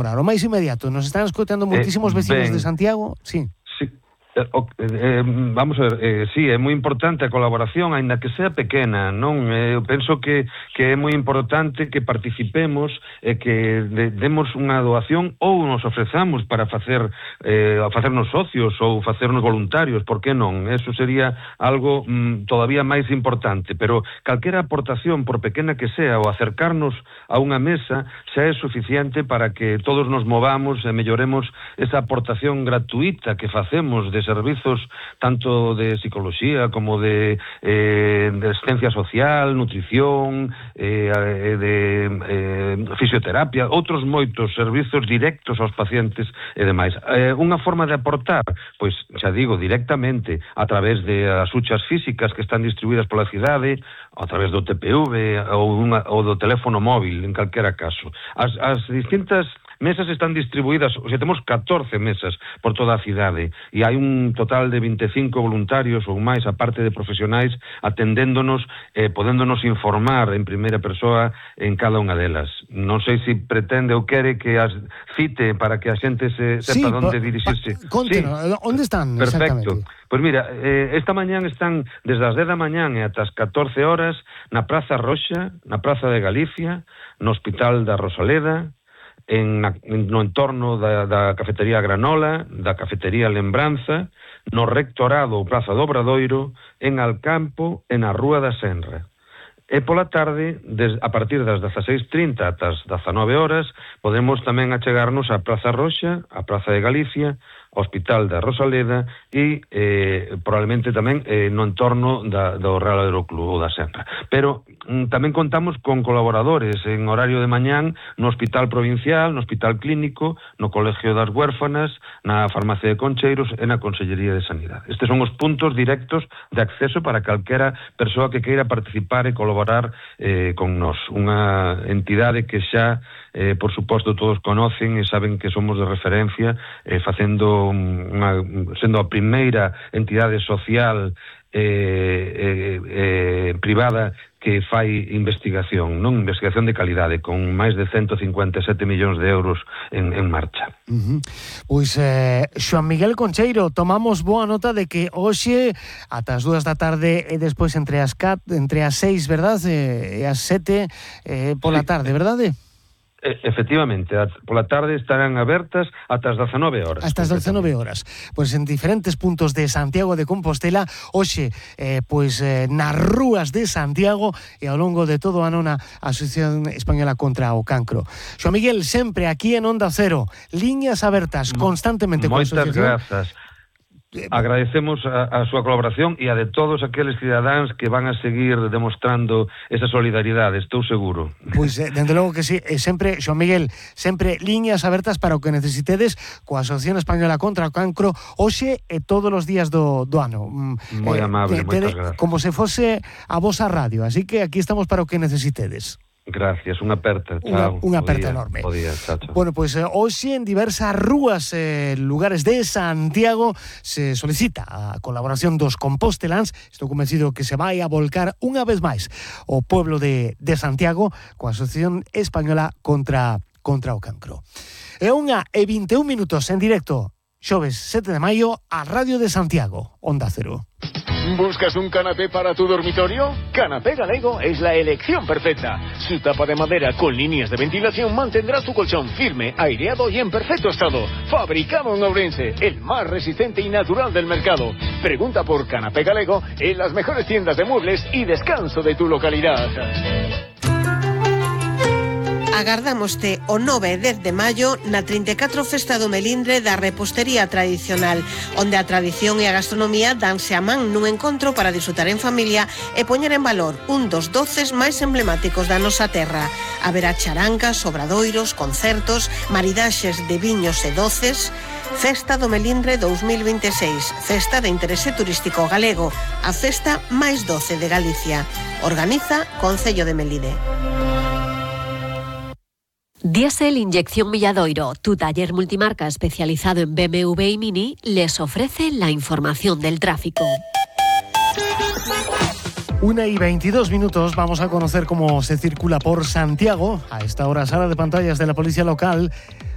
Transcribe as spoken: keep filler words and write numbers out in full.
Para o máis inmediato, nos están escoitando moitísimos eh, vecinos ben, de Santiago, sí. Sí. Eh, eh, vamos a ver, eh, sí, é moi importante a colaboración, aínda que sea pequena, non? Eh, eu penso que, que é moi importante que participemos e eh, que de, demos unha doación ou nos ofrezamos para facer eh, facernos socios ou facernos voluntarios, por que non? Eso sería algo mm, todavía máis importante, pero calquera aportación, por pequena que sea, ou acercarnos a unha mesa, xa é suficiente para que todos nos movamos e melloremos esa aportación gratuita que facemos de servizos tanto de psicología como de, eh, de asistencia social, nutrición, eh, de eh, fisioterapia, outros moitos servizos directos aos pacientes e demais. Eh, unha forma de aportar, pois xa digo, directamente a través de as huchas físicas que están distribuídas pola cidade, a través do T P V ou, unha, ou do teléfono móvil, en calquera caso. As, as distintas mesas están distribuídas, o sea, temos catorce mesas por toda a cidade e hai un total de vinte e cinco voluntarios ou máis, a parte de profesionais atendéndonos, eh, podéndonos informar en primeira persoa en cada unha delas. Non sei se pretende ou quere que as cite para que a xente se sepa sí, onde pa, dirixirse. Pa, contenos, sí. Onde están? Perfecto. Pois mira, eh, esta mañán están desde as dez da mañán e ata as catorce horas na Praza Roxa, na Praza de Galicia, no Hospital da Rosaleda, En, en, no entorno da, da cafetería Granola, da cafetería Lembranza, no Rectorado ou Praza do Obradoiro, en Alcampo e na Rúa da Senra. E pola tarde, des, a partir das dezaseis e trinta ata as dezanove horas, podemos tamén achegarnos á Praza Roxa, á Praza de Galicia, ao Hospital da Rosaleda e eh, probablemente tamén eh, no entorno da, do Real Aeroclub ou da Senra. Pero mm, tamén contamos con colaboradores en horario de mañán no Hospital Provincial, no Hospital Clínico, no Colegio das Huérfanas, na Farmacia de Concheiros e na Consellería de Sanidade. Estes son os puntos directos de acceso para calquera persoa que queira participar e colaborar eh, con nós. Unha entidade que xa, eh, por suposto, todos conocen e saben que somos de referencia eh, facendo Unha, sendo a primeira entidade social eh, eh, eh, privada que fai investigación, non investigación de calidade, con máis de ciento cincuenta e sete millóns de euros en, en marcha. Uh-huh. Pois, eh, Xoan Miguel Concheiro, tomamos boa nota de que hoxe, ata as dúas da tarde e despois entre as cat, entre as seis, verdad, e as sete eh, pola sí. tarde, verdade? Efectivamente, pola tarde estarán abertas ata as dezanove horas. Hasta as dezanove horas. Pois en diferentes puntos de Santiago de Compostela, hoxe, eh, pois eh, nas rúas de Santiago e ao longo de todo o ano na Asociación Española contra o Cancro. Xoan Miguel, sempre aquí en Onda Cero, liñas abertas constantemente con a asociación. Moitas grazas. Agradecemos a, a súa colaboración e a de todos aqueles cidadáns que van a seguir demostrando esa solidaridade, estou seguro. Pois, eh, dende logo que sí, e sempre, Xoan Miguel, sempre liñas abertas para o que necesitedes coa Asociación Española contra o Cancro hoxe e todos os días do, do ano. Moi eh, amable, te, moitas te, gracias. Como se fose a vosa radio, así que aquí estamos para o que necesitedes. Gracias, unha aperta, Unha, chao. unha aperta enorme. Bo día, chao, chao. Bueno, pois pues, eh, hoxe en diversas rúas e eh, lugares de Santiago se solicita a colaboración dos composteláns. Estou convencido que se vai a volcar unha vez máis o pueblo de, de Santiago coa Asociación Española contra, contra o Cancro. É unha e vinte e un minutos en directo, xoves sete de maio, a Radio de Santiago, Onda Cero. ¿Buscas un canapé para tu dormitorio? Canapé Galego es la elección perfecta. Su tapa de madera con líneas de ventilación mantendrá tu colchón firme, aireado y en perfecto estado. Fabricado en Ourense, el más resistente y natural del mercado. Pregunta por Canapé Galego en las mejores tiendas de muebles y descanso de tu localidad. Agardámoste o nove e dez de maio na trinta e catro Festa do Melindre da Repostería Tradicional, onde a tradición e a gastronomía danse a man nun encontro para disfrutar en familia e poñer en valor un dos doces máis emblemáticos da nosa terra. Haberá charangas, obradoiros, concertos, maridaxes de viños e doces. Festa do Melindre dous mil vinte e seis, festa de interese turístico galego, a festa máis doce de Galicia. Organiza Concello de Melide. Diesel Inyección Milladoiro, tu taller multimarca especializado en B M W y Mini, les ofrece la información del tráfico. Una y veintidós minutos, vamos a conocer cómo se circula por Santiago. A esta hora, sala de pantallas de la policía local.